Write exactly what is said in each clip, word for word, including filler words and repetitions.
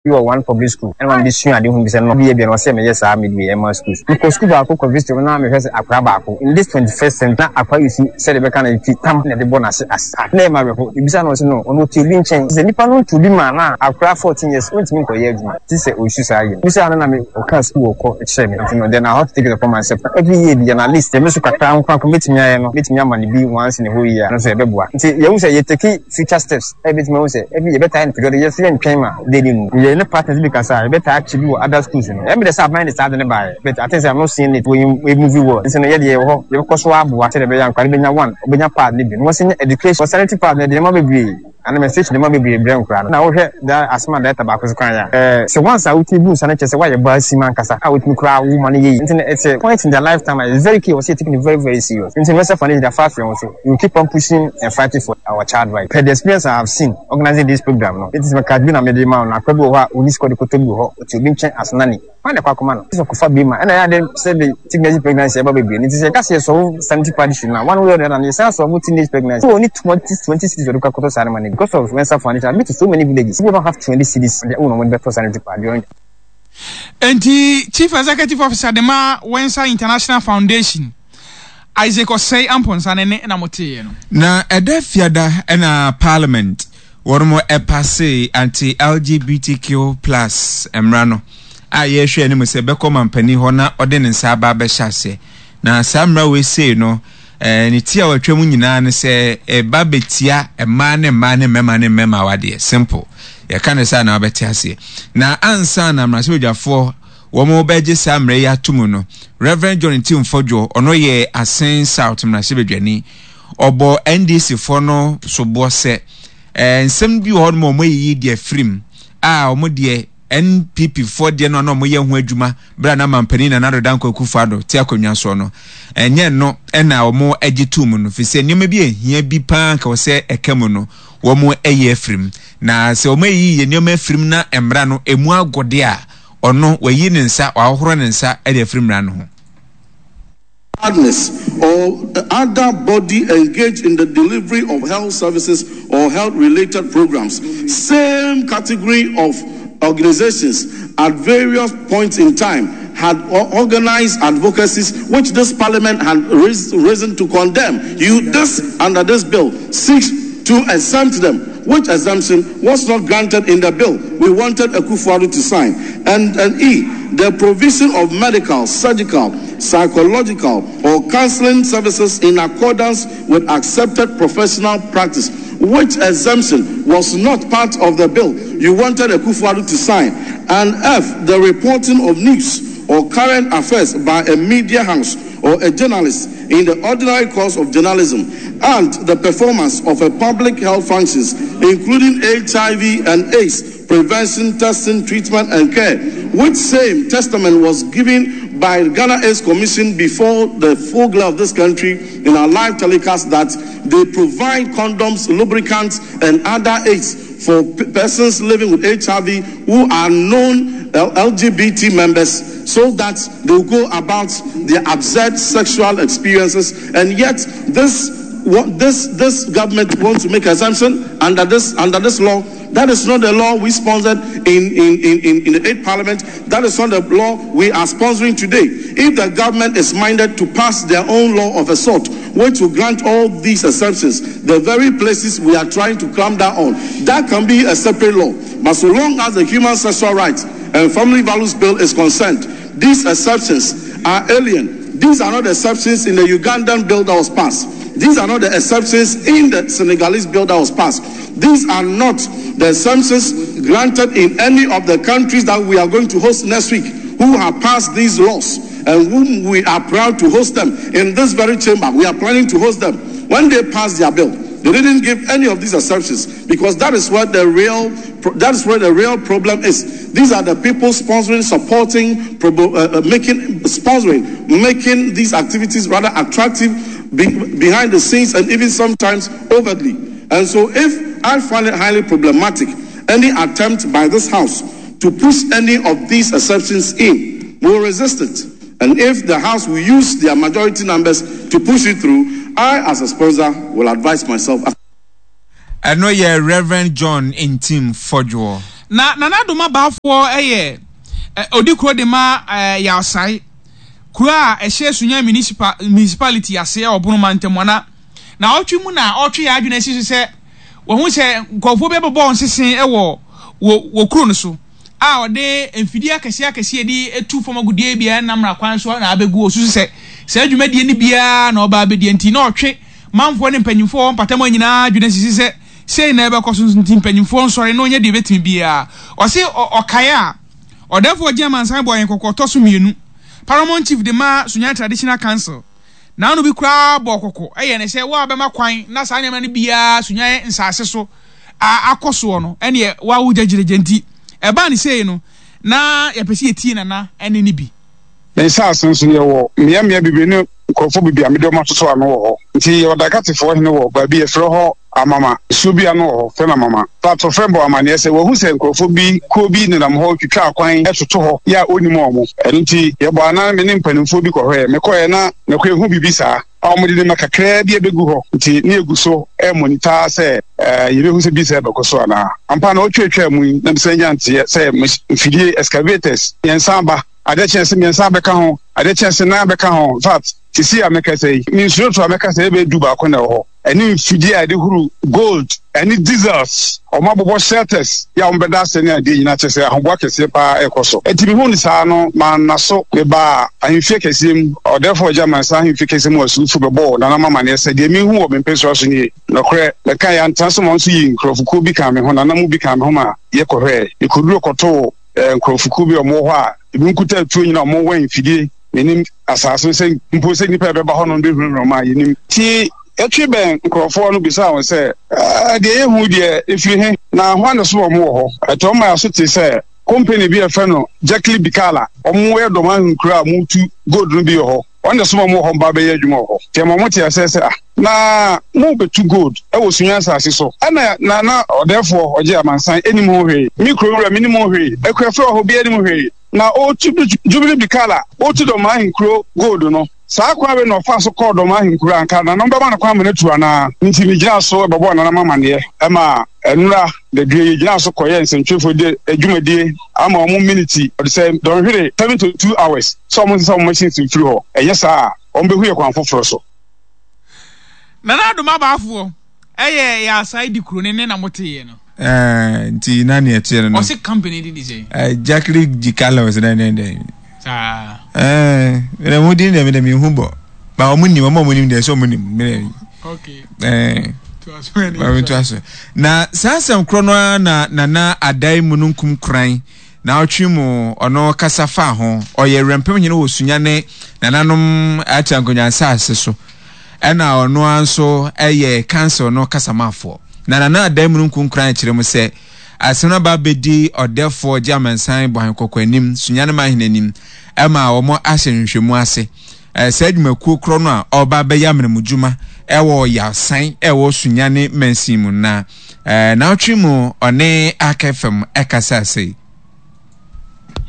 Bi wɔ one public school ɛna maame de sua ade ho bi sɛ no bi yɛ bi na ɔsɛ meyɛ saa mede wei ɛma schools. Mekɔ school baako kɔ visit na mehwɛ sɛ akwadaa baako in this twenty first century na akwadaa yi si sɛdeɛ bɛka no ti tam na ɛde bɔ n'ase asa na ɛma awerɛho. Ebisa no, ɔsɛ no ɔno ɔte obi nkyɛn sɛ nipa no nto bi ma na akwadaa fourteen years ɔntumi nkɔyɛ adwuma ti sɛ ɔsu saa yɛ. Bisa no na me ɔka school ɔkɔ kyerɛ me, nti no then I have to take it upon myself every year bi and at least ɛmi so kakra nko akɔ mɛtumi ayɛ no, mɛtumi ama no bi once in a whole year no so ɛbɛboa. Nti yɛhu sɛ yɛ take future steps, ɛbɛtumi ahu sɛ every year yɛbɛtaa no periodic, yɛso yɛntwɛn ma daily no. Yɛ ne partners bi kasa a yɛbɛtaa akyi bi wɔ other schools no. Ɛmi de sɛ aban de saa de ne baeɛ, but I think sɛ I'm not seeing it wɔ movie world. Nti no yɛde yɛwɔ hɔ, yɛbɛkɔ so aboa sɛdeɛ ɛbɛyɛ nkwadaa no bɛnya one, ɔbɛnya pad ne bi na wɔsɛ nya education wɔ sanitary pad no, ɛde nneɛma bebree ana message nneɛma bebree brɛ nkwadaa no. Na wohwɛ da asɛm a director baako so kan yɛ a, ɛɛ sɛ once a wotumi bu nsa no kyerɛ sɛ woayɛ baa sim ankasa a wotumi koraa wo ma no yɛ yi. Nti no it's a point in their lifetime a it's very key, wɔsɛ yɛ taking it very very serious. Nti no mɛsɛ fa no de afa afei ho so, we will keep on pushing and fighting for our child right. Per the experience I have seen organizing this program no, it is my card bi na mede ma wo no. Akora bi wɔ hɔ a ɔni sika ɔde kɔtɔ bi wɔ hɔ, ɔte obi nkyɛn asenani kwan na ɛkɔ akɔma no sɛ ɔkɔfa bi ma ɛna ɛyɛ ade sɛ de teenage pregnancy ɛba bebree. Nti sɛ yɛka sɛ yɛsɔwo sanitary pad issue no a, one way or the other no yɛsan sɔwo teenage pregnancy. So ɔni twenty twenty cedis ɔde kɔ akɔtɔ saa no ma no. Because of Wensa Foundation, I've been to so many villages, people don't have twenty cedis on their own ɔmo de bɛtɔ sanitary pad during. Enti Chief Executive Officer de ma Wensa International Foundation, Isaac Osei Amponsah ne ne na moteeɛ no. Na ɛda Fiada na Parliament wɔn ɛpasee anti-L G B T Q plus mmara no a yɛrehwɛ anim sɛ bɛkɔ mampanin hɔ na ɔde ne nsa aba abɛhyɛ aseɛ. Na saa mmara wei sei no, ɛɛ ne ti a wɔatwa mu nyinaa no sɛ ɛba bɛtia mmaa ne mmaa ne mmarima ne mmarima awadeɛ. Simple, yɛka ne saa na wabɛte aseɛ. Na ansa na mmarahyɛbadwafoɔ wɔn bɛgye saa mmara yi ato mu no, Reverend John Ntim Fordjour, ɔno yɛ Assin South mmarahyɛbadwani, ɔbɔ N D C foɔ no soboɔ sɛ ɛɛ nsɛm bi wɔ hɔ nom a wɔn ayiyi deɛ firim a wɔn deɛ N P P foɔ deɛ no a na wɔyɛ ho adwuma berɛ a na mampanin Nana Addo Dankwa Akufo-Addo te akonnwa soɔ no, ɛnyɛ no ɛna wɔn agye to mu no, fi sɛ nneɛma bi ehia bi paa nka wɔ sɛ ɛka mu no, wɔn ayi afirim. Na sɛ wɔn ayi yɛ nneɛma afirim na mmara no emu agode a, ɔno wayi ne nsa, wahohoro ne nsa de afiri mmara no ho. Partners or other body engaged in the delivery of health services or health related programs. Same category of organizations at various points in time had organized advocacies which this parliament had risen to condemn. You, this, under this bill, seeks to exempt them, which exemption was not granted in the bill we wanted Akufo-Addo to sign. And, and E, the provision of medical, surgical, psychological, or counseling services in accordance with accepted professional practice, which exemption was not part of the bill you wanted Akufo-Addo to sign. And F, the reporting of news or current affairs by a media house or a journalist in the ordinary course of journalism, and the performance of a public health functions, including H I V and AIDS prevention, testing, treatment, and care, which same testament was given by Ghana AIDS Commission before the full glare of this country in our live telecast that they provide condoms, lubricants, and other aids for persons living with H I V who are known L G B T members so that they will go about their absurd sexual experiences. And yet, this what this this government wants to make exemption under this under this law. That is not the law we sponsored in, in, in, in, in the eighth parliament. That is not the law we are sponsoring today. If the government is minded to pass their own law of a sort, which will grant all these exemptions, the very places we are trying to clamp down on, that can be a separate law. But so long as the Human Sexual Rights and Family Values Bill is concerned, these exceptions are alien. These are not the exceptions in the Ugandan bill that was passed. These are not the exceptions in the Senegalese bill that was passed. These are not the exemptions granted in any of the countries that we are going to host next week who have passed these laws and whom we are proud to host them in this very chamber. We are planning to host them. When they pass their bill, they didn't give any of these exceptions because that is where the real that is where the real problem is. These are the people sponsoring, supporting, uh, uh, making, sponsoring, making these activities rather attractive be, behind the scenes and even sometimes overtly. And so, if I find it highly problematic, any attempt by this house to push any of these exceptions in, will resist it. And if the House will use their majority numbers to push it through, I, as a sponsor, will advise myself. Ɛno yɛ Reverend John Ntim Fordjour. Na Nana Doma Baafoɔ ɛyɛ odi kuro de ma Yawsai kuro a ɛhyɛ Sunyani municipal municipality ase ɛwɔ Bono mantam ana na ɔtwe mu na ɔtwe yɛ adwene asi so sɛ wɔn ho sɛ nkurɔfoɔ bi bɛbɔ nsese ɛwɔ wɔ wɔ kuro no so a ɔde mfidie akɛseɛ akɛseɛ de etu fam agudie biara nam na kwan so na abɛgu osusu sɛ sɛ adwumadie no biara na ɔba abɛdie nti na ɔtwe manfoɔ ne mpanyinfoɔ mpatamu nyinaa adwene sisi sɛ sei na ɛbɛkɔ so nti mpanyinfoɔ nsɔre na ɔnyɛ deɛ ebɛtumi biara. Ɔse ɔkae a ɔdɛfoɔ gye amansan bɔ yɛn kɔkɔ ɔtɔ so mmienu, Paramount Chief de ma Sunyani Traditional Council na ano bi koraa bɔ kɔkɔ ɛyɛ ne sɛ wo a bɛma kwan na saa nneɛma no biara Sunyani nsase so a akɔ soɔ no ɛneɛ wawo gyagyeragya. Nti ɛbaa ne sei no na yɛpɛ sɛ yɛtie Nana ɛne ne bi. Ne nsaase nso yɛwɔ mmeammea bebree ne nkurɔfoɔ bebree a mede wɔn atoto ano wɔ hɔ. Nti yɛwɔ Dakatefoɔ hene wɔ baabi yɛfrɛ hɔ Amama, nsuo bi ano wɔ hɔ frɛ no Amama. Patɔfrɛ bɔ amanneɛ sɛ wahu sɛ nkurɔfoɔ bi kuo bi nenam hɔ twitwa akwan toto hɔ yɛ a ɔnnim wɔn. Ɛno nti yɛbɔ anan, me ne mpanimfoɔ bi kɔhwɛɛ. Mekɔɛ na mekɔ ehu biribi saa a wɔde nneɛma kakraa bi abɛgu hɔ. Nti ne yɛgu so ɛmonitor sɛ yɛbɛhu sɛ bi sɛ ɛbɛkɔ so anaa. Ampa na ɔtwatwa mu yi na mesan nya nteɛ sɛ mfidie excavators mmiɛnsa aba, adeɛ kyɛn sɛ mmiɛnsa bɛka ho, adeɛ kyɛn sɛ nan bɛka ho. In fact, sisi a mɛka sɛ yi mensuro to a mɛka sɛ ɛbɛyɛ du baako na ɛwɔ hɔ, ɛne mfidie a yɛde huru gold ɛne diesels. Ɔmo abobɔ shelters yɛ a wɔn bɛda ase ne adeɛ nyinaa, kyerɛ sɛ ahoboa kɛseɛ paa ɛkɔ so. Eti mihu ne saa no maa na so mebaa ahemfie kɛseɛ mu, ɔdɛfo ɔgya mansa ahemfie kɛseɛ mu asuufo bɛbɔɔ nanam amaneɛ sɛ deɛ mihu wɔ me mpɛsua so nie. Nɔkorɛ mɛka yɛ antena so ma nso yi nkurɔfokuo bi ka me ho, nanam bi ka me ho ma yɛkɔhwɛɛ. Yɛkɔduro kɔtoo nkurɔfokuo bi a wɔwɔ hɔ a ebi nkuta atuo nyinaa, wɔn wɛn mfidie. Menim asase no sɛ mpo sɛ nnipa ɛbɛba hɔ no bɛhurahura mu a yɛnim. Nti yɛtwe bɛn nkurɔfoɔ no bisaa wɔn sɛ, deɛ yɛhu deɛ ɛfiri he na hwan na so wɔn wɔ hɔ? Ɛtɔ ma yɛaso te sɛ company bi a yɛfrɛ no Jackley Bikala, wɔn yɛ dɔm ahenkuro a wɔtu gold no bi wɔ hɔ, wɔn na so wɔn wɔ hɔ mba bɛyɛ adwuma wɔ hɔ. Nti ɛma wɔn te aseɛ sɛ ah, na mo bɛtu gold ɛwɔ Sunya asase so, ɛna na na ɔdɛɛfoɔ ɔgye amansan ɛnim ho hwee, me kuro wura menim ho hwee, akuafo wɔ hɔ bi anim hwee, na ɔtu Jubilee Bikala ɔtu dɔm ahenkuro gold no saa kwan wei na ɔfa so kɔɔ dɔm ahenkuro anka nanom bɛma no kwan ma no atu anaa? Nti megyina so bɛbɔɔ nanam amanneɛ ɛma nnura dadue. Yɛgyina so kɔyɛ nsɛntwerɛfoɔ de adwumadie ama ɔmo miniti ɔde sɛ dɔnhwere seventy two hours sɛ ɔmo nsesa ɔmo machines mfiri hɔ, ɛnyɛ saa a ɔmo bɛhu yɛ kwan foforɔ so. Nana Adoma Baafoɔ ɛyɛ yɛ asae di kuro ne ne na moteeɛ no. Eh, nti na neɛ ɛteɛ no no ɔse company de di sɛ eh, Jacqueline Gikala ɔsɛ dɛn dɛn dɛn saa. Eh, mede mo din deɛ mede mehu bɔ ba ɔmo nim, ɔmo a ɔmo nim deɛ sɛ ɔmo nim mede okay eh, to aso ɛne ma to aso. Na saa asɛm korɔ no ara na Nana Adae mu no nkum koran na ɔtwe mu ɔno kasa fa ho. Ɔyɛ werɛmpem hene wɔ Sunyani nananom atra nkonnwa nsase so, ɛna ɔno ara nso ɛyɛ council no kasamafoɔ. Na Nana Adae mu no nkum koran kyerɛ mu sɛ asɛm no aba abɛdi ɔdɛfoɔ gye amansan bɔhan kɔkɔ anim, Sunyani mahene anim, ɛma wɔn ahyɛ nhwehwɛmu ase. Ɛɛ saa adwumakuo korɔ no a ɔreba abɛyɛ amenamudwuma ɛwɔ Yasan ɛwɔ Sunyani mansin mu na ɛɛ n'atwe mu ɔne Aka F M ɛkasa ase.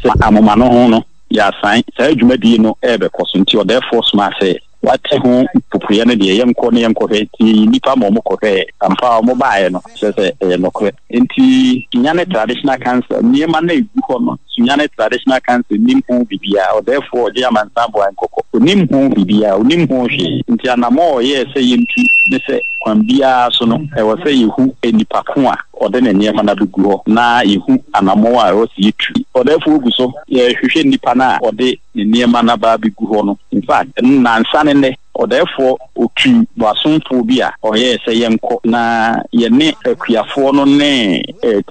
Sɛ amoma no ho no yɛasan saa dwumadie no ɛrebɛkɔ so, nti ɔdɛɛfoɔ somaa sɛ wate ho popoeɛ no deɛ yɛnkɔ ne yɛnkɔhwɛ. Nti yɛyi nnipa ma ɔmo kɔhwɛɛ. Ampa a ɔmo baeɛ no kyerɛ sɛ ɛyɛ nɔkorɛ. Nti Sunyani Traditional Council nneɛma no ɛgu hɔ no, Sunyani Traditional Council nim ho biribiara. Ɔdɛɛfoɔ ɔgye amansan boa nkɔkɔ onim ho biribiara, onim ho hwee. Nti anammɔ a ɔyɛɛ sɛ yɛntu ne sɛ kwan biara so no ɛwɔ sɛ yɛhu nipa ko a ɔde ne nneɛma no abɛgu hɔ na yɛhu anammɔ a ɛwɔ sɛ yɛtu. Ɔdɛɛfoɔ gu so yɛhwehwɛ nnipa no a ɔde ne nneɛma no aba abɛgu hɔ no. In fact, nnansa ne nnɛ ɔdɛɛfoɔ otu boasomfoɔ bi a ɔyɛɛ sɛ yɛnkɔ na yɛne akuafoɔ no ne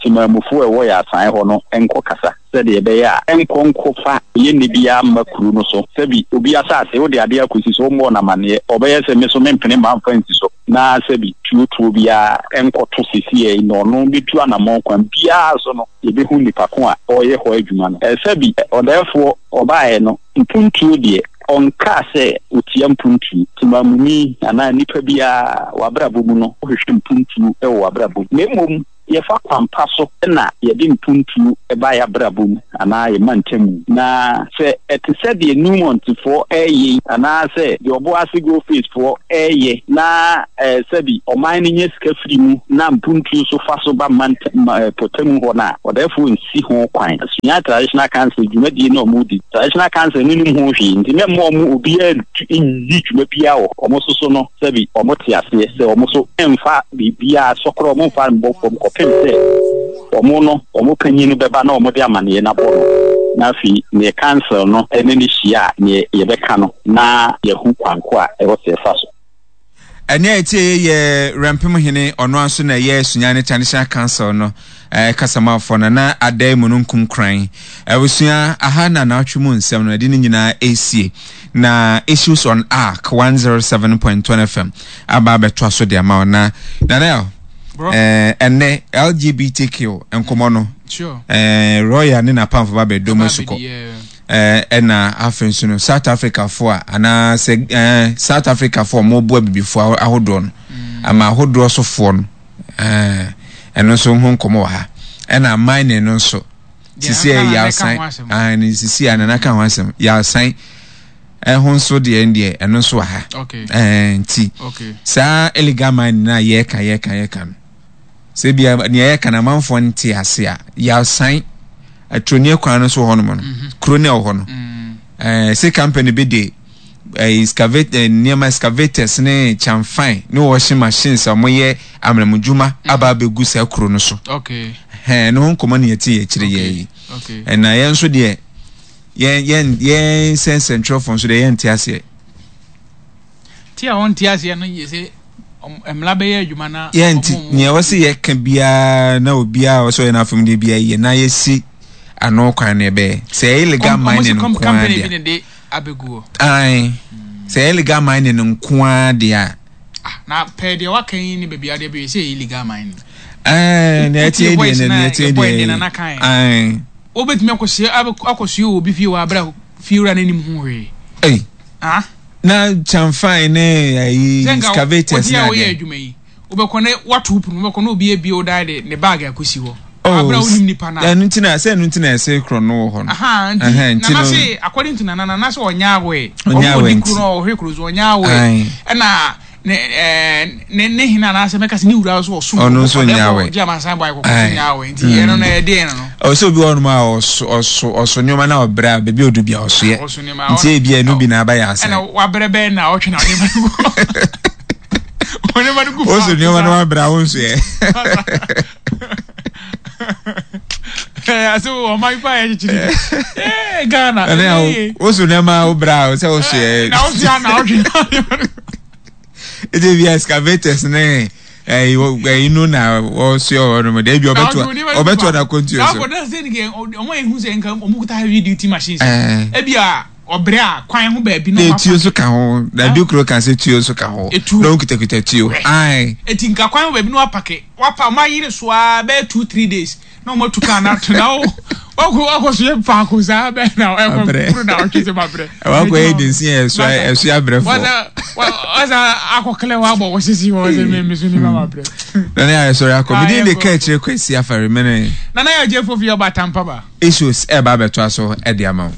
timamufoɔ a ɛwɔ yɛ asan hɔ no nkɔ kasa sɛdeɛ ɛbɛyɛ a ɛnkɔ nkɔfa yɛnni biara mma kuro no so. Sɛbi obi asase wode adeɛ akɔsi so, wommɔɔ no amanneɛ, ɔbɛyɛ sɛ me so mempene mma mfa nsi so, na sɛbi tuotuo biara ɛnkɔto sesiɛ na ɔno bɛtu anammɔn. Kwan biara so no yɛbɛhu nipa ko a ɔreyɛ hɔ adwuma no. Sɛbi ɔdɛɛfoɔ ɔbaeɛ no, mpuntuo deɛ ɔnkaa sɛ otia mpuntuo. Timamuni anaa nipa biara w'abrabɔ mu no wohwehwɛ mpuntuo wɔ w'abrabɔ mu, na mmom Yɛfa kwampa so na yɛde mpuntuo ɛba yɛ abrabɔ mu anaa yɛ mantam, na sɛ ɛte sɛ deɛ Newmontfoɔ ɛɛyɛ anaasɛ deɛ Ɔboase Goldfields foɔ ɛɛyɛ na ɛɛ sɛbi ɔman no nyɛ sika firi mu na mpuntuo so fa so ba mantam pɔtamu hɔ no a, ɔdɛɛfoɔ nsi ho kwan. Sunyani Traditional Council dwumadie na ɔmo di, Traditional Council no nim ho hwee, nti mɛmma ɔmo obiara nni dwuma biara wɔ ɔmo soso no. Sɛbi ɔmo te aseɛ sɛ ɔmo so mfa biribiara sɔkorɔ, ɔmo mfa mbɔ fam kɔpem sɛ ɔmo no ɔmo panyin no bɛba na ɔmo de amaneɛ no abɔ no, na afei neɛ council no ɛne ne hyia a, neɛ yɛbɛka no na yɛhu kwanko a ɛwɔ sɛ ɛfa so. Ɛne a ɛtie yɛ Rɛmpem hene, ɔno nso na ɛyɛ Sunyani Traditional Council no eh, kasamafoɔ no na adan mu no nkum kran. Abusua, aha na naatwe mu nsɛm no ɛde ne nyinaa ɛsie, na Issues on Ark one oh seven point one F M aba abɛtoa so de ama wo. Na Nana, ɛnɛ L G B T Q nkɔmmɔ no, eh, Royal ne n'apamfo ba bɛdɔ mu sukɔ, ɛna afei nso no South Africa fo a anaasɛ eh, South Africa fo a wɔboa bibifo ahodoɔ no, ama ahodoɔ sofoɔ no, ɛno nso ho nkɔmmɔ wɔ ha. Ɛna mining no nso sisi a yɛasan, ah, sisi a nana ka ho asɛm, yɛasan ɛho nso deɛ deɛ ɛno nso wɔ ha. Ɛɛ nti saa illegal mining na yɛka yɛka yɛka no, sɛ bia nea yɛka na amanfoɔ nte ase a, yɛasan aturoni kwan no so wɔ hɔnom no, kuro no ɛwɔ hɔ no, ɛɛ sɛ company bi de excavate nneɛma, excavators ne kyamfan ne washing machines a wɔyɛ amamudwuma aba abɛgu saa kuro no so. Ɛɛ ne ho nkɔmɔ ne yɛte yɛ akyire yɛ yi. Ɛna yɛn nso deɛ yɛn yɛn yɛn nsɛnsɛntwerɛfoɔ nso deɛ yɛn nte aseɛ. Ti a wɔn te aseɛ no yɛ sɛ mmla bɛyɛ adwuma na. Yɛn ti nea wɔsi yɛ ka biara na obiara a wɔsɔ yɛn afam deɛ biara yɛ na yɛsi ano kwan no ɛbɛyɛ sɛ ɛyɛ illegal mining nko ara deɛ. Ayi sɛ ɛyɛ illegal mining nko ara deɛ a. Na pɛɛ deɛ waka yi ne baabi adeɛ bɛyɛ sɛ ɛyɛ illegal mining. Ɛɛ nea ɛteɛ deɛ nea ɛteɛ deɛ ayi. Wobɛtumi akɔsie akɔsie wɔ obi fie wɔ abira fiewura n'anim ho hwee. Ɛyi. Ah. Na kyamfan ne ayi excavators na adeɛ. Sɛ nka adwuma yi wobɛkɔ ne wato pono, wobɛkɔ na obi ebie wo dan de ne bag akɔsi hɔ. Abira wonim nipa na. Ɛno nti na sɛ ɛno nti na ɛsɛ korɔ no wɔ hɔ no. Aha nti nana se according to nana, nana se ɔnya awɛ. Ɔnya awɛ nti. Ɔdi kuro no ɔhwɛ kuro so ɔnya awɛ. Ɛna ne ɛɛ ne ne hene anaasɛ mɛka sɛ ne wura nso ɔsom. Ɔno nso nya awɛ. Ɔgye amansan bɔ ayɛ kɔkɔ nya awɛ nti ɛno no ɛyɛ den no. Ɔsɛ obi wɔ hɔnom a ɔso ɔso ɔso nneɛma na ɔbrɛ a baabi a odu bi a ɔsoyɛ. Nti ebi a ɛno bi na aba yɛ asɛn. Ɛna wabrɛ bɛn na ɔtwe na nneɛma no gu. Nneɛma no gu fa. Ɔso nneɛma no wabrɛ a ɔnso yɛ. Ase ɔman pa yɛ kyekyere. Ee Ghana. Ɛnɛ ɔso nneɛma a ɔbrɛ a ɔsɛ ɔso yɛ. Na ɔso yɛ na ɔtwe na nneɛma no. Ete bi excavators ne ɛyi ɛyi no na wɔsoɛ wɔ hɔnom de ebi ɔbɛto ɔbɛto na kontuo so. Saa akɔda sɛ nìkɛ ɔmo ehu sɛ nka ɔmo kuta heavy duty machines. Ebi a ɔbrɛ a kwan ho baabi na ɔmo afa. Tuo so ka ho na ebi kuro ka sɛ tuo so ka ho. Etuo na ɔmo kutakuta tuo. Ayi. Eti nka kwan ho baabi na wapake wapa ɔmo ayere so a bɛyɛ two three days na ɔmo atu kaa na ato na o wakɔ wakɔ so yɛ faako saa bɛyɛ na ɛkɔ kuro na ɔtwe sɛ ma brɛ. Wakɔ yɛ densi yɛ ɛso ɛso abrɛ fo. Wasa wasa akɔ kɛlɛ wa bɔ wɔsisi wɔ sɛ mɛ mɛ so ni ma ma brɛ. Nana yɛ sɔrɔ akɔ mi din de ka akyire Kwesi Afari mene. Nana yɛ gye fofi ɔba tampa ba. Issues ɛba abɛto aso ɛde ama wo.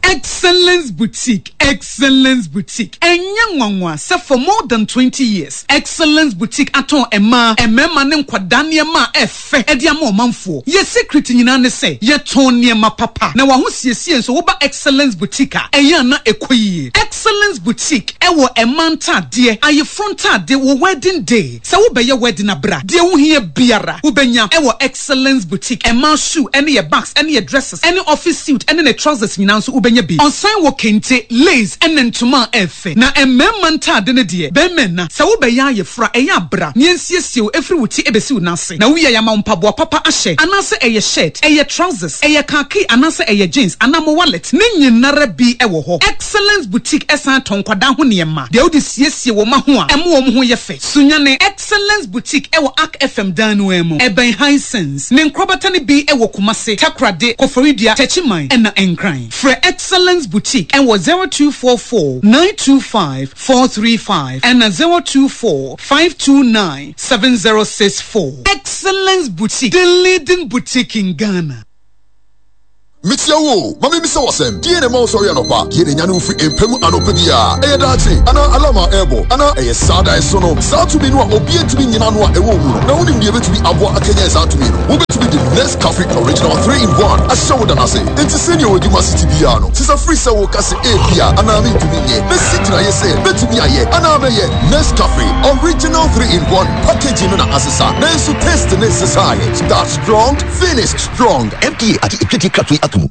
Excellence Boutique, Excellence Boutique. Ɛnyɛ nwanwa sɛ for more than twenty years, Excellence Boutique atɔn mmaa, mmarima ne nkwadaa nneɛma a ɛfɛ ɛde ama ɔmanfoɔ. Yɛ secret nyinaa ne sɛ, yɛtɔn nneɛma papa. Na w'ahosiesie nso, woba Excellence Boutique a, ɛyɛ a na ɛkɔ yie. Excellence Boutique ɛwɔ mmaa ntaadeɛ, ayeforo ntaadeɛ, wɔ wedding day. Sɛ wobɛyɛ wedding abra, deɛ wohia biara, wobɛnya ɛwɔ Excellence Boutique. Mmaa shoe ɛne yɛ bags ɛne yɛ dresses ɛne office suit ɛne ne trousers nyinaa nso wobɛnya bi. Ɔsan wɔ kente, lace ɛne ntoma a ɛfɛ. Na mmarima ntaade no deɛ, bɛrima nna. Sɛ wobɛyɛ ayeforo a, ɛyɛ abra na yɛnsiesie wo ɛfiri wo ti ɛbɛsi wo nan ase. Na wowie a, yɛama wo mpaboa papa ahyɛ, anaasɛ ɛyɛ shirt, ɛyɛ trousers, ɛyɛ khaki anaasɛ ɛyɛ jeans anaa mo wallet, ne nyinara bi ɛwɔ hɔ. Excellence Boutique ɛsan tɔn nkwadaa ho nneɛma, deɛ wode siesie wo mma ho a ɛmo wɔn ho yɛ fɛ. Sunyani Excellence Boutique ɛwɔ Ark F M dan no mu, ɛbɛn Hisense. Ne nkorabata no bi ɛwɔ Kumase, Takoradi, Koforidua, Techiman ɛna Nkran. Frɛ Excellence Boutique ɛwɔ zero two four four nine two five four three five ɛna zero two four five two nine seven zero six four. Excellence Boutique, the leading boutique in Ghana. Mekyia wo o, ma mimmisa wo asɛm. Deɛn na ɛma wosɔre anɔpa? Deɛn na ɛnyane wo firi mpa mu anɔpa biara? Ɛyɛ daakye? Anaa alarm a ɛrebɔ? Anaa ɛyɛ saa daeɛso no? Saa tumi no a obiara ntumi nnyina ano a ɛwɔ wo mu no, na wonim deɛ ɛbɛtumi aboa akanyan saa tumi no? Wobɛtumi de Nescafe Original three in one ahyɛ wo da no ase. Enti sɛnea w'adwuma si te biara no, sesa firi sɛ woka sɛ ebia anaa mentumi nyɛ na si gyinaeɛ sɛ mɛtumi ayɛ anaa mɛyɛ. Nescafe Original three in one packaging no na asesa, nanso taste no nsesaeɛ. Start strong, finish strong. F D A agye etwetwe kratoɔ yi ato mu.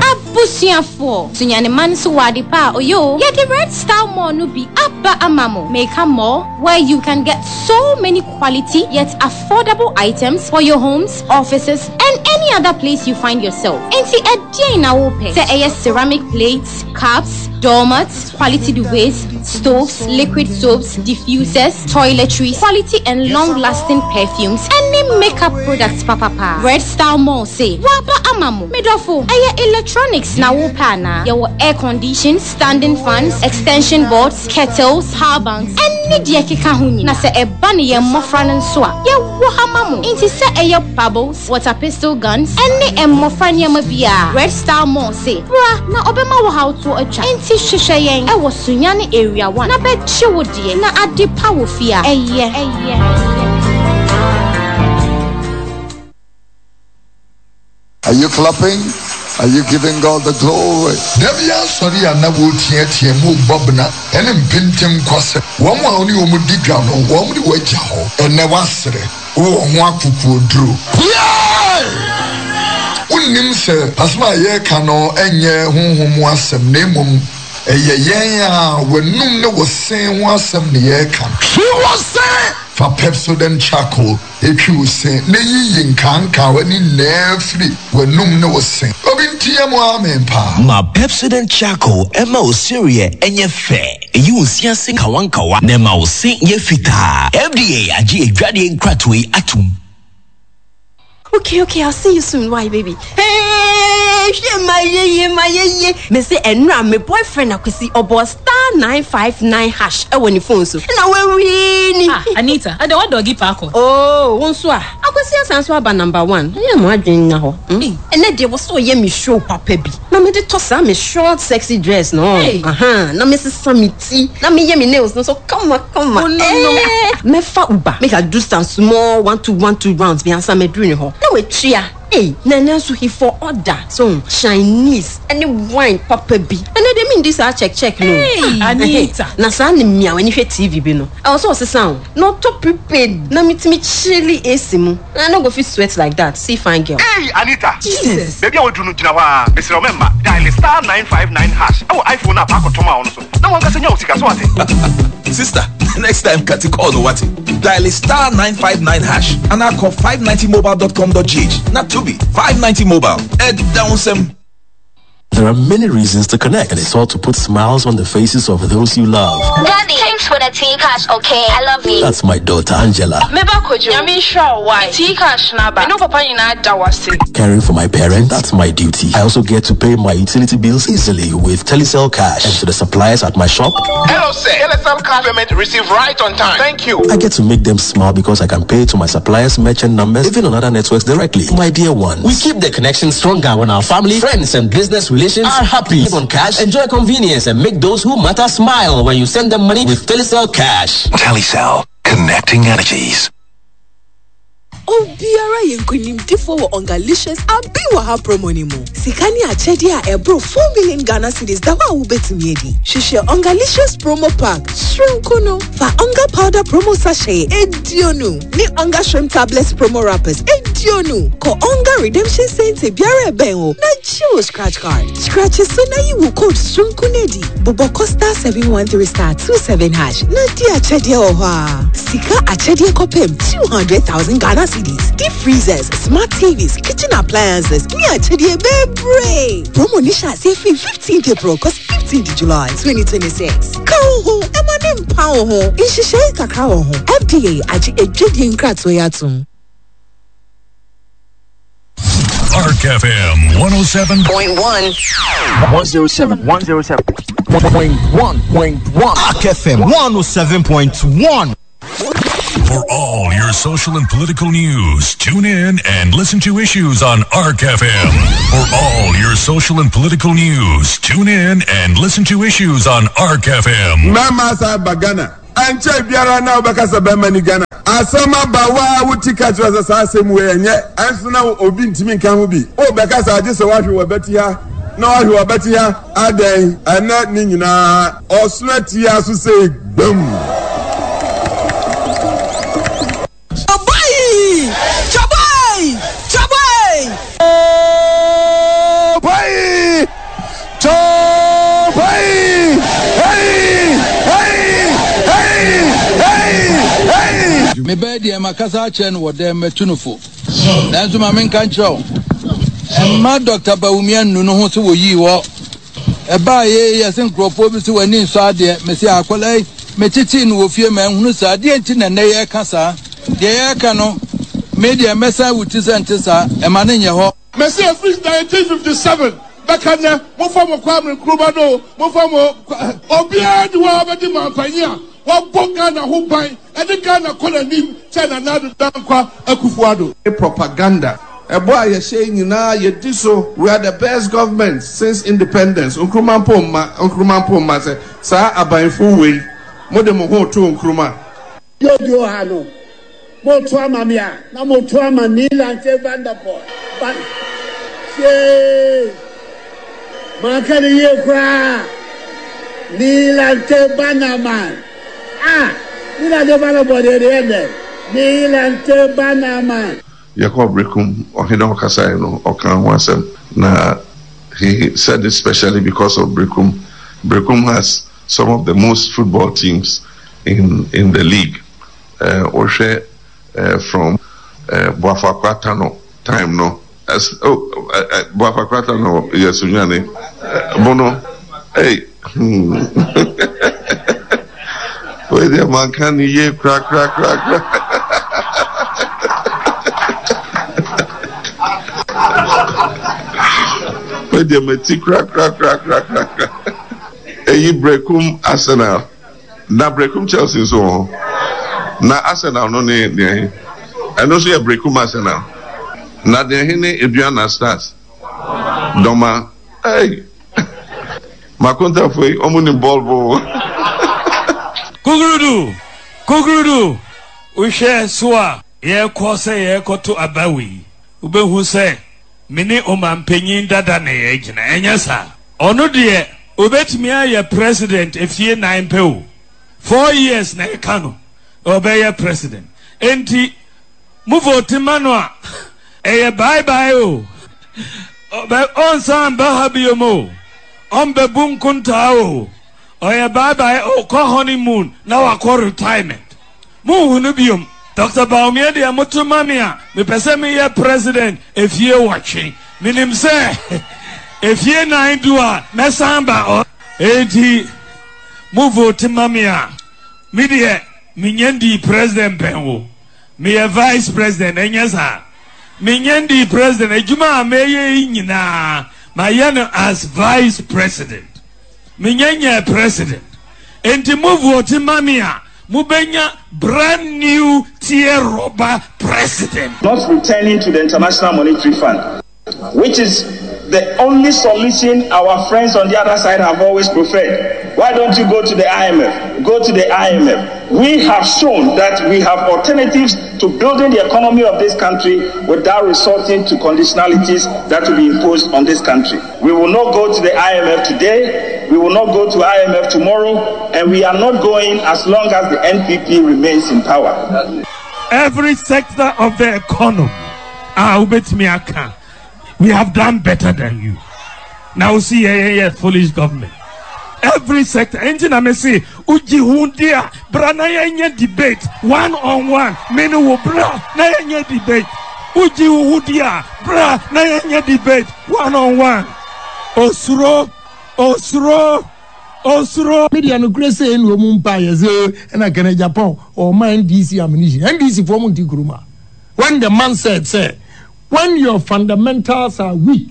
Abusuafoɔ, Sunyani man nso wɔ ade pa a ɔyɛ o. Yɛde Red Star Mall no bi aba ama mo. Meka mall where you can get so many quality yet affordable items for your homes, offices and any other place you find yourself. Enti ɛdeɛn na wopɛ? Sɛ ɛyɛ ceramic plates, cups, doormats, quality duvets, stoves, liquid soaps, diffusers, toiletries, quality and long-lasting perfumes, ɛne makeup products papapa. Red Star Mall se, waba ama mo. Medɔfo, ɛyɛ electronics na wopɛ anaa? Yɛwɔ air conditions, standing fans, extension boards, kettles, power banks, ɛne deɛ ɛkeka ho nyinaa. Na sɛ ɛba ne yɛn mmɔfra no nso a, yɛwɔ ha ma mo. Nti sɛ ɛyɛ bubbles, water pistol guns, ɛne mmɔfra nneɛma biara, Red Star Mall se, bra na ɔbɛma wo hawtoɔ atwa. Nti hwehwɛ yɛn ɛwɔ Sunyani Area one na bɛgye wo deɛ na ade pa wɔ fie a ɛyɛ. Ɛyɛ. Are you clapping? Are you giving God the glory? Da bi asɔre a na wɔreteatea mu rebɔ bena ne mpenten kwasɛm. Wɔn a wo ne wɔn di dwa no, wɔn de wo agya hɔ. Ɛnnɛ woasere, wowɔ ho akokoɔduro. Piae! Wonnim sɛ asɛm a yɛreka no nyɛ honhom mu asɛm, na mmom ɛyɛ yɛn a w'anum ne wo se ho asɛm na yɛreka no. Twi wo se! Fa Pepsodent Charcoal twi wo se na yiyi nkaankawa ne nyinaa firi w'anum ne wo se. Obi nteɛ mu amen paa. Ma Pepsodent Charcoal mma wo sereɛ nyɛ fɛ, ɛyi wo se ase nkawankawa na ɛma wo se yɛ fitaa. F D A agye adwadeɛ nkratoɔ yi atom. Okay, okay, I'll see you soon. Why, baby? Hey, hwɛ ma yeye ma yeye. Me se ɛnura me boyfriend Akwesi ɔbɔ star nine five nine hash ɛwɔ ne phone so. Ɛna wawini. Ah, Anita, ɛdɛ wa dɔgi paako. Oh, wo nso a. Akwesi asan so aba number one. Ɛyɛ mo adwene nya hɔ. Hmm? Ɛnɛ deɛ wɔ so ɔyɛ me show papa bi. Na me de tɔ saa me short sexy dress no. Hey. Aha, na me sesa me ti. Na me yɛ me nails no so kama kama. Oh, no, no. Eh, mɛfa Uber. Make I do some small one two one two rounds bi ansa mɛduru ne hɔ. Na watua. Hey, na ɛnɛ nso he for order. So Chinese ɛne wine papa bi. Ɛnɛ deɛ mi ndi saa check check no. Hey, Ah, Anita. ɛhɛ. Na saa ne mmea w'ani hwɛ T V bi no. Ɛwɔ sɛ ɔsesa o. Na ɔtɔ prepaid na metumi chilli A C mu. Na I no go fit sweat like that. See fine girl. Hey, Anita! Jesus! Baabi a waduru no gyina hɔ a, mesrɛ wo mɛmma. Dial star nine five nine hash ɛwɔ iPhone a paakɔtɔm a ɔno so na wankasa nya wo sika so ate. Sister, next time cut call no what? Dial star nine five nine hash and I call five ninety mobile dot com dot G H. Not to be five ninety mobile. Ed down some. There are many reasons to connect, and it's all to put smiles on the faces of those you love. Daddy, thanks for the T-Cash, okay? I love you. That's my daughter Angela. Meba Kojo, Nyame nhyira wo wae. T-Cash naba. Me ne papa nyinaa da wase. Caring for my parents, that's my duty. I also get to pay my utility bills easily with Telecel Cash. And to the suppliers at my shop, Hello, sir. Telecel Cash payment received right on time. Thank you. I get to make them smile because I can pay to my suppliers' merchant numbers, even on other networks directly. My dear ones. We keep the connection stronger when our family, friends, and business relations are happy. Live on cash, enjoy convenience, and make those who matter smile when you send them money with Telecel Cash. Telecel, connecting energies. Obiara yɛ nkonimdifoɔ wɔ Ongalicious abi wɔ ha promo ni mu. Sika ne akyɛdeɛ a ɛboro four million Ghana cedis da hɔ a wobɛtumi adi. Hwehwɛ Ongalicious promo pack soronko no. Fa Onga powder promo sachet eduonu ne Onga shrimp tablets promo wrappers eduonu. Kɔ Onga redemption center biara ɛbɛn wo na gye wo scratch card. Scratch so na yi wo code soronko no adi. Bobɔ kɔ star seven one three star two seven hash na di akyɛdeɛ wɔ hɔ a. Sika akyɛdeɛ kɔpem two hundred thousand Ghana cedis. Deep freezers, smart T Vs, kitchen appliances, ne akyɛdeɛ bebree. Promo ni hyɛ aseɛ firi fifteenth April kɔsi fifteenth July twenty twenty six. Ka wo ho, ɛma ne mpa wo ho. Nhyehyɛe kakra wɔ ho. F D A agye edwadie nkratoɔ yi atom. Ark F M one oh seven point one. one oh seven. one oh seven. Point one point one. Ark F M one oh seven point one. For all your social and political news, tune in and listen to issues on Ark F M. For all your social and political news, tune in and listen to issues on Ark F M. Mama Sabagana, Anche Biara na Obakasa Bemani Ghana. Asama bawa wuti kachwa sasa asemu wenye ansuna obi ntimi nka ho bi o bɛka sa agye sɛ wahwe wɔ bɛti ha na wahwe wɔ bɛti ha adan ɛnɛ ne nyinaa ɔsona tia so sɛ gbam. Chabai! Chabai! Chabai! Chabai! Chabai! Hey! Hey! Hey! Hey! Hey! Me bed ya makasa chen wo dem metunufo. Nanso ma menka nkyerɛ. Emma Doctor Bawumia nnu ho so wo yi wo. E ba ye ye se nkrofo bi se wani nso ade me se akwala me titi no wo fie ma nhunu sa ade nti na ne ye ka sa. De ye ka no me de mesa wuti se nte sa e ma ne nye ho. Me se free nineteen fifty-seven beka ne mo fa mo kwa Nkrumah no mo fa mo obi adi wa obedi mampanyi a wa bo Ghana ho ban e de Ghana kɔ n'anim kyɛ na Nana Dankwa Akufo-Addo. Propaganda. Ebo a yɛhyɛ nyinaa yɛdi so, we are the best government since independence. Nkrumah mpo mma, Nkrumah mpo mma sɛ saa abanfo wei mo de mo ho to Nkrumah. Jojo ha no mo to ama me a na mo to ama Nii Lante Vanderpuye. But she manka ne yie koraa. Nii Lante Bannerman. Ah, Nii Lante Vanderpuye deɛ deɛ dɛ. Nii Lante Bannerman. Yɛkɔ Brekum ɔhene ɔkasa no ɔka ho asɛm na he said it specially because of Brekum. Brekum has some of the most football teams in in the league. Ɔhwɛ uh, uh, from uh, Boafakwa Tano time no. As oh uh, uh, Boafakwa Tano yes unyane uh, bono hey hmm. Wait there man can ye crack crack crack crack. Wait there me ti crack crack crack crack crack. Eyi Brekum Arsenal. Na Brekum Chelsea so. Na Arsenal no ne ne. Ɛno nso yɛ Brekum Arsenal. Na deɛ he ne Aduana Stars. Dɔma. Hey. Makontafo yi ɔmo ni bɔɔl bo. Kukurudu. Kukurudu. Wohwɛ so a yɛkɔ sɛ yɛkɔto abawi. Wobɛhu sɛ me ne ɔmampanyin dada na yɛgyina. Ɛnyɛ saa. Ɔno deɛ obetumi ayɛ president efie nine pɛ o. Four years na ɛka no. Ɔbɛyɛ president. Enti mo vote ma no a ɛyɛ bye bye o. Ɔbɛ ɔnsan ba ha biom o. Ɔmbɛbu nkontaa o. Ɔyɛ bye bye ɔkɔ honeymoon na wakɔ retirement. Mo hunu biom. Doctor Bawumia deɛ moto ma me a mepɛ sɛ meyɛ president efie wɔtwe. Menim sɛ efie nine du a mɛsan ba ɔ. Enti mo vote ma me a me deɛ menyɛ ndi president pɛn o. Meyɛ vice president ɛnyɛ saa. Menyɛ ndi president adwuma a meyɛ yi nyinaa mayɛ no as vice president. Menyɛ nyɛ president. Enti mo vote ma me a mubenya brand new tier rubber president. Not returning to the International Monetary Fund, which is the only solution our friends on the other side have always preferred. Why don't you go to the I M F? Go to the I M F. We have shown that we have alternatives to building the economy of this country without resorting to conditionalities that will be imposed on this country. We will not go to the I M F today. We will not go to I M F tomorrow. And we are not going as long as the N P P remains in power. Every sector of the economy, ah, we have done better than you. Now we see, yeah, yeah, yeah, foolish government. Every sector. Engine I may say, Uji hundia, bra na yenye debate, one on one. Menu wo bra na yenye debate. Uji hundia, bra na yenye debate, one on one. Osuro, osuro, osuro. Media no kure say no mu mpa ye say na Kene Japan or my N D C ammunition. N D C for mu nti kuruma. When the man said, say, When your fundamentals are weak,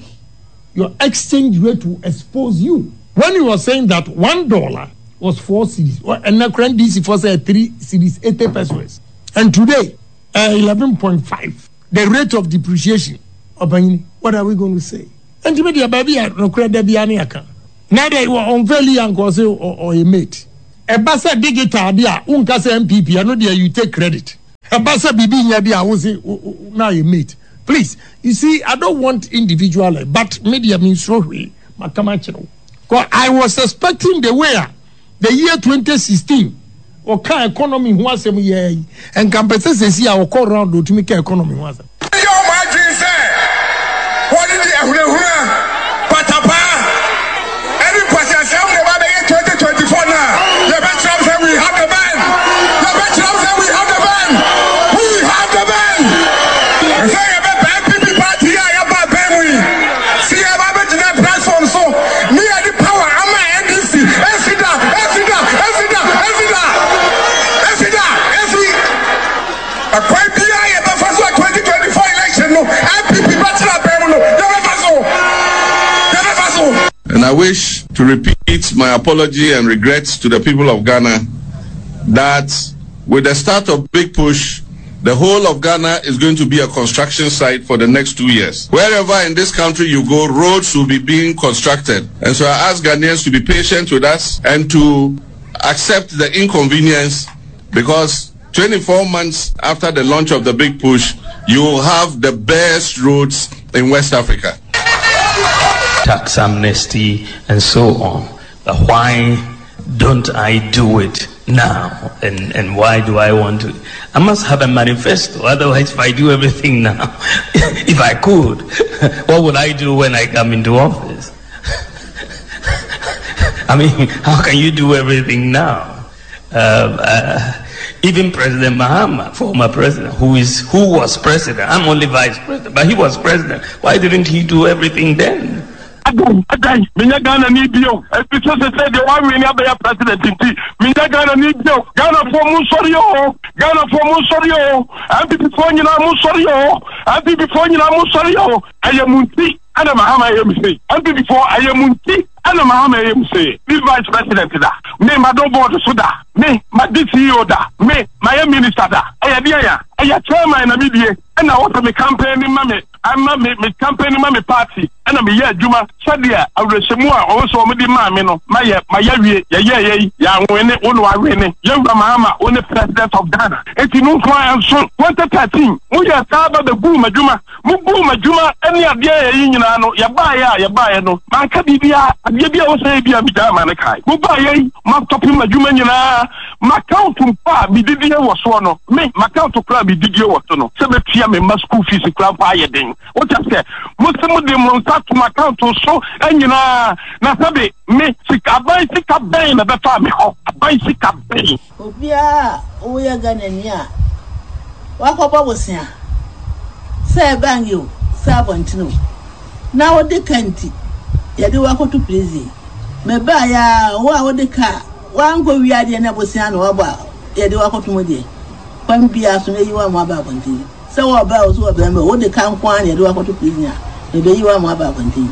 your exchange rate will expose you. When you were saying that one dollar was four cedis, and the current D C for say three cedis eighty pesos, and today uh, eleven point five, the rate of depreciation. What are we going to say? And to me, the baby, no credit be any account. Now they were on fairly and cause or a mate. A bassa digital dia, unkasa M P P, I know there you take credit. A bassa B B dia, I say now you mate. Please, you see, I don't want individual, but media means I was expecting the way the year twenty sixteen or car economy was a year and compensate see our call round to make economy was. What did the Patapa? Every person twenty twenty-four now. The best say we have the man. The best say we have the man. We have the man. Say about N P P party, I about Ben. See about the platform. So me and the power. I'm a N D C. Esida, Esida, Esida, Esida, Esida, Esida. A quite B I about first twenty twenty-four election. No N P P party. And I wish to repeat my apology and regrets to the people of Ghana that with the start of Big Push, the whole of Ghana is going to be a construction site for the next two years. Wherever in this country you go, roads will be being constructed. And so I ask Ghanaians to be patient with us and to accept the inconvenience, because twenty-four months after the launch of the Big Push, you will have the best roads in West Africa. Tax amnesty and so on. But why don't I do it now? And, and why do I want to? I must have a manifesto. Otherwise, if I do everything now, if I could, what would I do when I come into office? I mean, how can you do everything now? Uh, uh, even President Mahama, former president, who is who was president, I'm only vice president, but he was president. Why didn't he do everything then? Adan, minya Ghana ni bio. Ebi so se se de wa win abaya president nti. Minya Ghana ni bio. Ghana for mu sori o. Ghana for mu sori o. M P P for nyina mu sori o. M P P for nyina mu sori o. Aye mu nti. Ana Mahama ye mu se. M P P for aye mu nti. Ana Mahama ye mu se. Be vice president da. Me ma do board so da. Me ma D C O da. Me ma ye minister da. Aye dia ya. Aye chairman na me die. Na wo me campaign ma me. Ama me me campaign ma me party. Ana me ye adwuma sadia awrehemu a owo so me di ma me no ma ye ma ye wie ye ye ye ya nwene wo no awene ye wura Mahama wo ne president of Ghana enti no nko anso twenty thirteen mo ye saba be gu madwuma mo gu madwuma ene ade ye yi nyina no ye ba ye a ye ba ye no man ka bibia ade bia wo so bia mi da ma ne kai mo ba ye ma stop madwuma nyina ma count mpa bi didie wo so no me ma count kra bi didie wo so no se betua me ma school fees kra pa ye den wo ta se mo se mo de mo to my account so enyina na sabe me sika ban sika ban na befa me ho ban sika ban obia wo ya Ghana ni a wakobo bosia se ban yo se abontino na wo de kanti ye de wakoto prison me ba ya wo a wo de ka wanko wi ade na bosia na wo ba ye de wakoto mo de kwan bia so na yi wa mo aba abontino se wo ba wo so wo ba me wo de kan kwan ye de wakoto prison a ebe yi wa mo aba abonten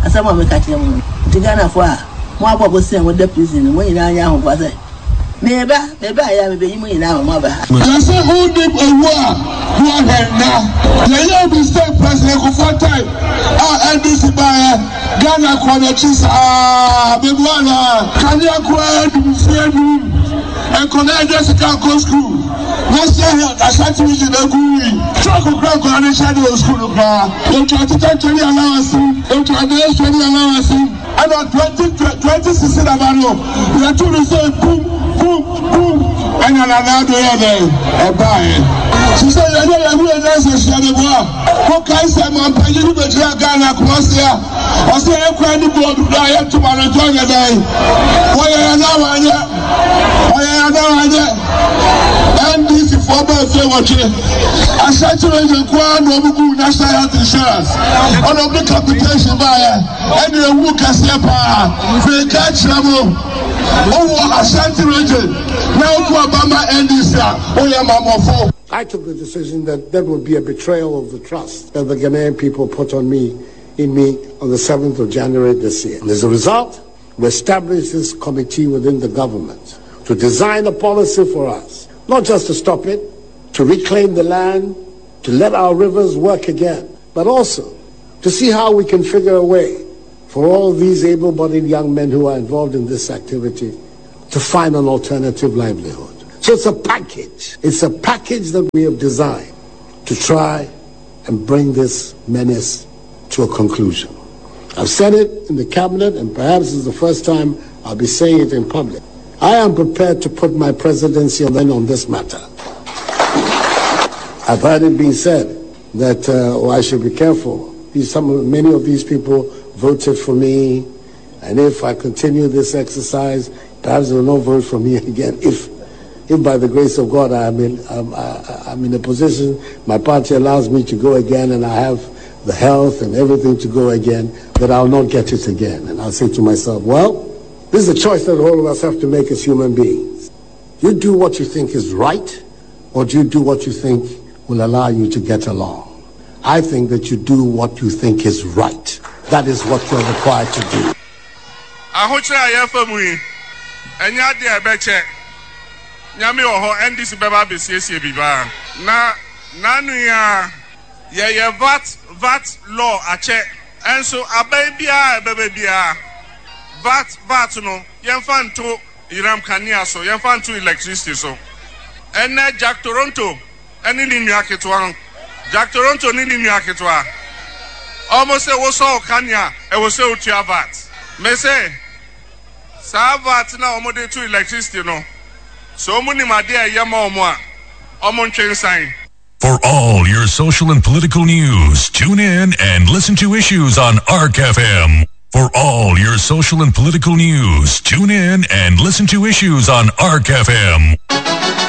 asem me ka kire mo ti Ghana fo a mo abobo sen wo da prison mo nyina anya ho kwa se me ba me ba ya me be yi mo nyina mo aba ya se who did owu a wo na ya ya be state president ko for time a N D C ba ya Ghana ko na chi sa be bo na kan ya ko du fie du en ko na just ka ko school na se Ashanti region agui truck kra ko na shadow school kra o twenty twenty allowance o twenty twenty allowance and twenty twenty sixteen abano ya tu say boom boom boom and na do ya dey e buy she say ya ya we na say she dey boy ko kai say man pa yi be jira Ghana ko say o say e kwa ni board da ya to ma na join ya dey o ya na wa ya o ya na wa ya N D C for ba fe wache Ashanti region kwa na obugu national health insurance on of the capitation ba ya and the wu kase pa fe ka kire mo o wo Ashanti region na oku Obama N D C o ya mamofo. I took the decision that that would be a betrayal of the trust that the Ghanaian people put on me, in me, on the seventh of January this year. And as a result, we established this committee within the government to design a policy for us, not just to stop it, to reclaim the land, to let our rivers work again, but also to see how we can figure a way for all these able-bodied young men who are involved in this activity to find an alternative livelihood. So it's a package. It's a package that we have designed to try and bring this menace to a conclusion. I've said it in the cabinet, and perhaps it's the first time I'll be saying it in public. I am prepared to put my presidency on, on this matter. I've heard it being said that, uh, oh, I should be careful. These, some, many of these people voted for me, and if I continue this exercise, perhaps they will not vote for me again. If, if by the grace of God I'm in, I'm, I, I'm in a position, my party allows me to go again, and I have the health and everything to go again, that I'll not get it again. And I'll say to myself, well, this is a choice that all of us have to make as human beings. You do what you think is right, or do you do what you think will allow you to get along? I think that you do what you think is right. That is what you're required to do. Ahokyere a yɛfa mu yi, ɛnyɛ adeɛ a ɛbɛkyɛ. Nyame wɔ hɔ, N D C bɛba abɛsiesie biribiara. Na n'ano yi a yɛyɛ V A T V A T law akyɛ, ɛnso aban biara a ɛbɛba biara, V A T V A T no yɛmfa nto yiram kanea so, yɛmfa nto electricity so. Ɛnɛ Jack Toronto ɛne ne nua ketewa, Jack Toronto ne ne nua ketewa, ɔmo sɛ wosɔ kanea, ɛwɔ sɛ otua V A T. Mese saa V A T na ɔmo de to electricity no so, ɔmo nim adeɛ a ɛyɛ ma ɔmo a ɔmo ntwe nsan. For all your social and political news, tune in and listen to Issues on ARC F M. For all your social and political news, tune in and listen to Issues on ARC F M.